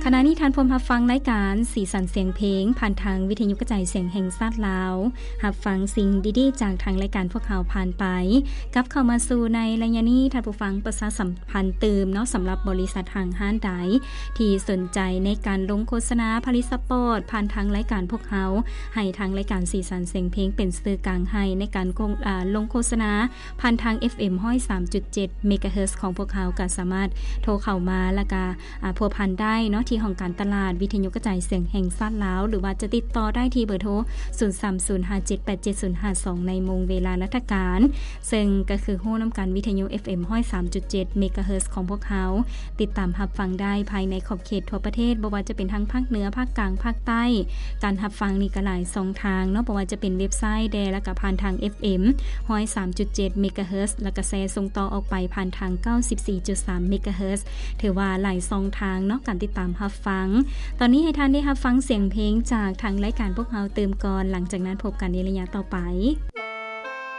ຂະນະນີ້ທ່ານພວມຮັບຟັງລາຍການສີສັນສຽງເພງ ຜ່ານທາງວິທະຍຸກະຈາຍສຽງແຫ່ງຊາດລາວ. ຮັບຟັງສິ່ງດີໆຈາກທາງລາຍການພວກເຮົາຜ່ານໄປ. ກັບເຂົ້າມາສູ່ໃນໄລຍະນີ້, ທ່ານຜູ້ຟັງ, ປະຊາສຳພັນຕື່ມເນາະ, ສຳລັບບໍລິສັດຫ້າງຮ້ານໃດທີ່ສົນໃຈໃນການລົງໂຄສະນາຜະລິດສະປອດ ຜ່ານທາງລາຍການພວກເຮົາ, ໃຫ້ທາງລາຍການສີສັນສຽງເພງເປັນສື່ກາງໃຫ້ໃນການ ອາ ລົງໂຄສະນາ ຜ່ານທາງ ເອັຟເອັມ ຮ້ອຍສາມຈຸດເຈັດ ເມກາເຮີດ ຂອງພວກເຮົາ ກໍສາມາດໂທເຂົ້າມາ ແລ້ວກໍ ອາ ພົວພັນໄດ້ເນາະ ທີ່ຫ້ອງການຕະຫຼາດວິທະຍຸກະຈາຍສຽງແຫ່ງຊາດລາວ ຫຼືວ່າຈະຕິດຕໍ່ໄດ້ທີ່ເບີໂທ ສູນສາມສູນຫ້າເຈັດແປດເຈັດສູນຫ້າສອງ ໃນໂມງເວລາລັດຖະການ, ເຊິ່ງກໍຄືຮູ້ນຳກັນ ວິທະຍຸ ເອັຟເອັມ ຮ້ອຍສາມຈຸດເຈັດ ເມກາເຮີດ ຂອງພວກເຮົາ ຕິດຕາມຮັບຟັງໄດ້ພາຍໃນຂອບເຂດທົ່ວປະເທດ, ບໍ່ວ່າຈະເປັນທາງພາກເໜືອ, ພາກກາງ, ພາກໃຕ້. ການຮັບຟັງນີ້ກໍຫຼາຍຊ່ອງທາງເນາະ, ບໍ່ວ່າຈະເປັນເວັບໄຊແດ່ ແລ້ວກໍຜ່ານທາງ ເອັຟເອັມ ຮ້ອຍສາມຈຸດເຈັດ ເມກາເຮີດ ແລ້ວກໍແຊສົ່ງຕໍ່ອອກໄປຜ່ານທາງ ເກົ້າສິບສີ່ຈຸດສາມ ເມກາເຮີດ. ຖືວ່າຫຼາຍຊ່ອງທາງເນາະ ການຕິດຕາມຮັບຟັງ. ຕອນນີ້ໃຫ້ທ່ານໄດ້ຮັບຟັງສຽງເພງຈາກທາງລາຍການພວກເຮົາຕື່ມກ່ອນ, ຫຼັງຈາກນັ້ນພົບກັນໃນໄລຍະຕໍ່ໄປ.